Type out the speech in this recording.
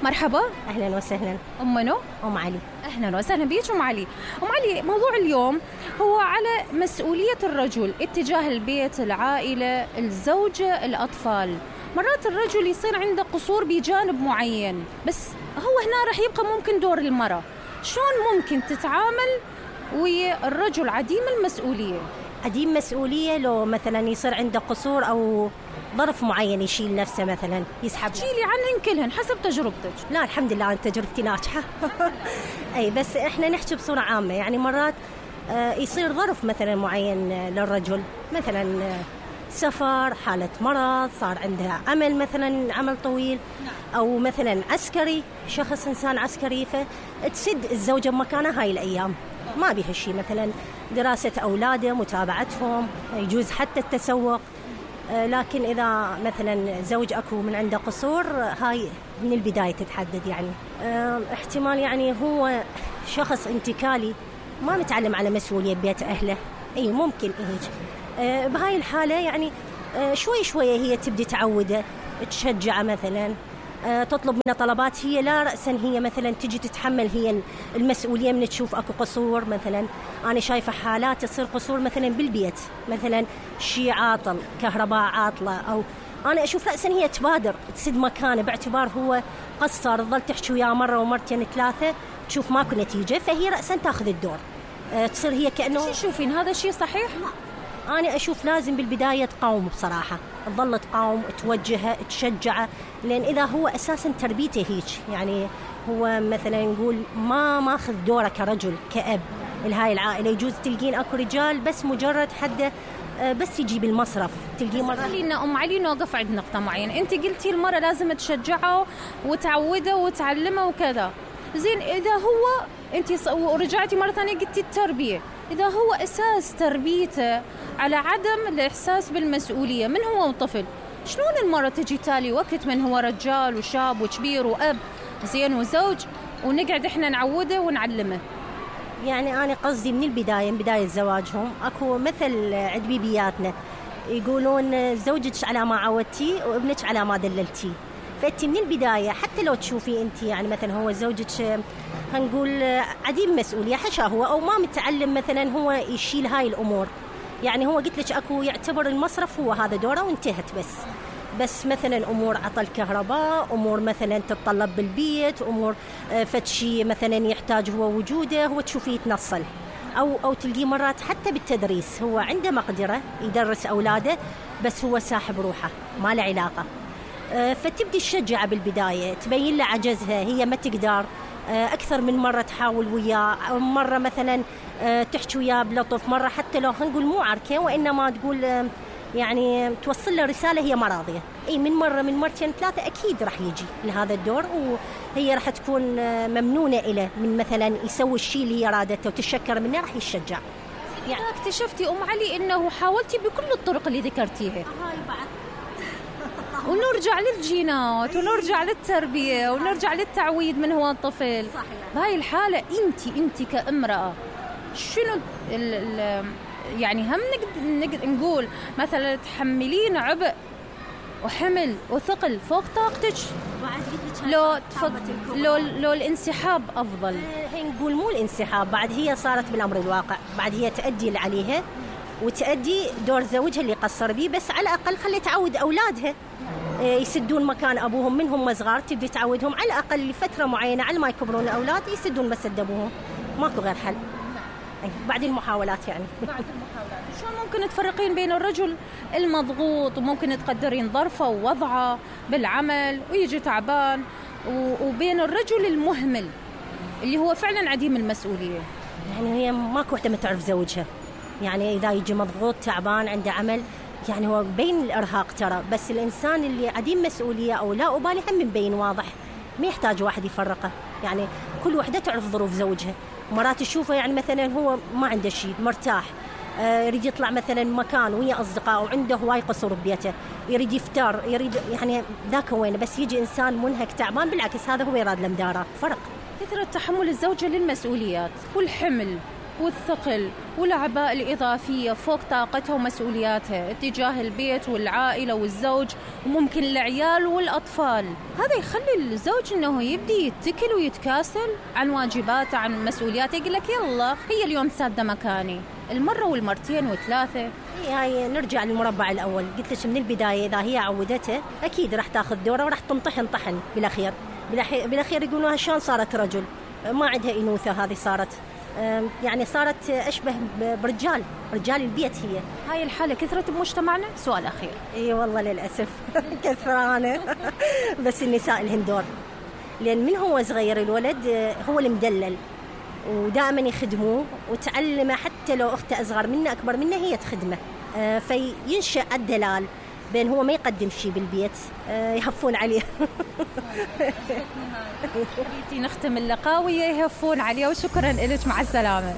مرحبا. أهلا وسهلا. أم منو؟ أم علي. أهلا وسهلا بيك أم علي. أم علي، موضوع اليوم هو على مسؤولية الرجل اتجاه البيت، العائلة، الزوجة، الأطفال. مرات الرجل يصير عنده قصور بجانب معين، بس هو هنا رح يبقى ممكن دور المرأة. شلون ممكن تتعامل ويا الرجل عديم المسؤولية؟ عديم مسؤولية لو مثلا يصير عنده قصور أو ظرف معين يشيل نفسه، مثلا يسحب. شيلي عنهن كلهن حسب تجربتك. لا الحمد لله أنا تجربتي ناجحة. أي بس إحنا نحكي بصورة عامة، يعني مرات يصير ظرف مثلا معين للرجل، مثلا سفر، حالة مرض، صار عنده عمل مثلا عمل طويل، أو مثلا عسكري، شخص إنسان عسكري، فتسد الزوجة بمكانها هاي الأيام، ما بيها شيء، مثلا دراسة أولاده، متابعتهم، يجوز حتى التسوق. لكن إذا مثلا زوج أكو من عنده قصور، هاي من البداية تتحدد. يعني احتمال يعني هو شخص انتكالي ما متعلم على مسؤولية بيت أهله، أي ممكن هيك. بهاي الحالة يعني شوي شوية هي تبدي تعوده، تشجعه، مثلا تطلب منه طلبات، هي لا رأسا هي مثلا تجي تتحمل هي المسؤولية من تشوف أكو قصور. مثلا أنا شايفة حالات تصير قصور مثلا بالبيت، مثلا شيء عاطل، كهرباء عاطلة، أو أنا أشوف رأسا هي تبادر تسد مكانه باعتبار هو قصر، تظل تحكي وياه مرة ومرتين ثلاثة، تشوف ماكو نتيجة، فهي رأسا تأخذ الدور. تصير هي كأنه. شو تشوفين هذا الشيء صحيح؟ أنا أشوف لازم بالبداية تقاوم بصراحة، تظل تقاوم، توجهه، تشجعه، لأن إذا هو أساساً تربيته هيك، يعني هو مثلاً نقول ما ماخذ دوره كرجل كأب لهاي العائلة. يجوز تلقين أكو رجال بس مجرد حده بس يجي بالمصرف، تلقيه مرة. خلينا أم علي نوقف عند نقطة معينة. أنت قلتي المرة لازم تشجعه وتعوده وتعلمه وكذا. زين، إذا هو أنت ورجعتي مرة ثانية قلتي التربية، إذا هو أساس تربيته على عدم الإحساس بالمسؤولية من هو وطفل، شلون المرة تجي تالي وقت من هو رجال وشاب وكبير وأب زين وزوج ونقعد إحنا نعوده ونعلمه؟ يعني أنا قصدي من البداية، من بداية زواجهم، أكو مثل عند بيبياتنا يقولون زوجك على ما عودتي وابنك على ما دللتي. فأنت من البداية حتى لو تشوفي أنت يعني مثلا هو زوجك هنقول عديم مسؤولية حشا هو، أو ما متعلم مثلا هو يشيل هاي الأمور، يعني هو قلت لك أكو يعتبر المصرف هو هذا دوره وانتهت. بس مثلا أمور عطل كهرباء، أمور مثلا تتطلب بالبيت، أمور فتشي مثلا يحتاج هو وجوده، هو تشوفيه يتنصل، أو تلقيه مرات حتى بالتدريس هو عنده مقدرة يدرس أولاده، بس هو ساحب روحه ما له علاقة. فتبدي الشجعة بالبداية، تبين له عجزها، هي ما تقدر، أكثر من مرة تحاول وياه، مرة مثلا تحكي وياه بلطف، مرة حتى لو نقول مو عركة وإنما تقول يعني توصل له رسالة هي ما راضية، أي من مرة من مرتين ثلاثة أكيد راح يجي لهذا الدور، وهي راح تكون ممنونة إله من مثلا يسوي الشيء اللي هي رادته وتشكر منه، راح يشجع. يعني اكتشفتي أم علي إنه حاولتي بكل الطرق اللي ذكرتيها، ونرجع للجينات ونرجع للتربية ونرجع للتعويد من هو الطفل. بهاي الحالة انت كامرأة شنو يعني هم نقول مثلا تحملين عبء وحمل وثقل فوق طاقتك، لو الانسحاب أفضل؟ هي نقول مو الانسحاب، بعد هي صارت بالأمر الواقع، بعد هي تأدي اللي عليها وتأدي دور زوجها اللي قصر بيه، بس على الأقل خلي تعود أولادها يسدون مكان أبوهم من هم صغار، تبدي تعودهم على الأقل لفترة معينة على ما يكبرون الأولاد يسدون مسد أبوهم، ماكو غير حل. بعد المحاولات يعني. بعد المحاولات شلون ممكن تفرقين بين الرجل المضغوط وممكن تقدرين ظرفه ووضعه بالعمل ويجي تعبان، وبين الرجل المهمل اللي هو فعلا عديم المسؤولية؟ يعني هي ماكو وحدة ما تعرف زوجها، يعني إذا يجي مضغوط تعبان عنده عمل، يعني هو بين الإرهاق ترى، بس الإنسان اللي عديم مسؤولية أو لا أبالي هم مبين واضح، ما يحتاج واحد يفرقه، يعني كل وحدة تعرف ظروف زوجها. مرات تشوفه يعني مثلا هو ما عنده شيء، مرتاح، يريد يطلع مثلا مكان ويا أصدقاء وعنده هواي قصور ببيته، يريد يفتر، يريد يعني ذاك وين، بس يجي إنسان منهك تعبان بالعكس هذا هو يراد له مدارات. فرق كثرة تحمل الزوجة للمسؤوليات والحمل والثقل والأعباء الإضافية فوق طاقتها ومسؤولياتها اتجاه البيت والعائلة والزوج وممكن العيال والأطفال. هذا يخلي الزوج أنه يبدي يتكل ويتكاسل عن واجباته عن مسؤولياته، يقول لك يلا هي اليوم سادة مكاني. المرة والمرتين وثلاثة. هاي نرجع للمربع الأول، قلت لك من البداية إذا هي عودته أكيد راح تاخذ دوره وراح تنطحن طحن بالأخير يقولوها شلون صارت رجل، ما عندها إنوثة، هذه صارت يعني صارت أشبه برجال البيت. هاي الحالة كثرت بمجتمعنا؟ سؤال أخير. إيه والله للأسف كثرانة بس النساء لهن دور، لأن من هو صغير الولد هو المدلل ودائما يخدموه وتعلمه، حتى لو أخته أصغر منه أكبر منه هي تخدمه، فينشأ الدلال بين هو ما يقدم شيء بالبيت، يهفون عليه. نختم اللقاء ويهفون عليه، وشكرا لك، مع السلامة.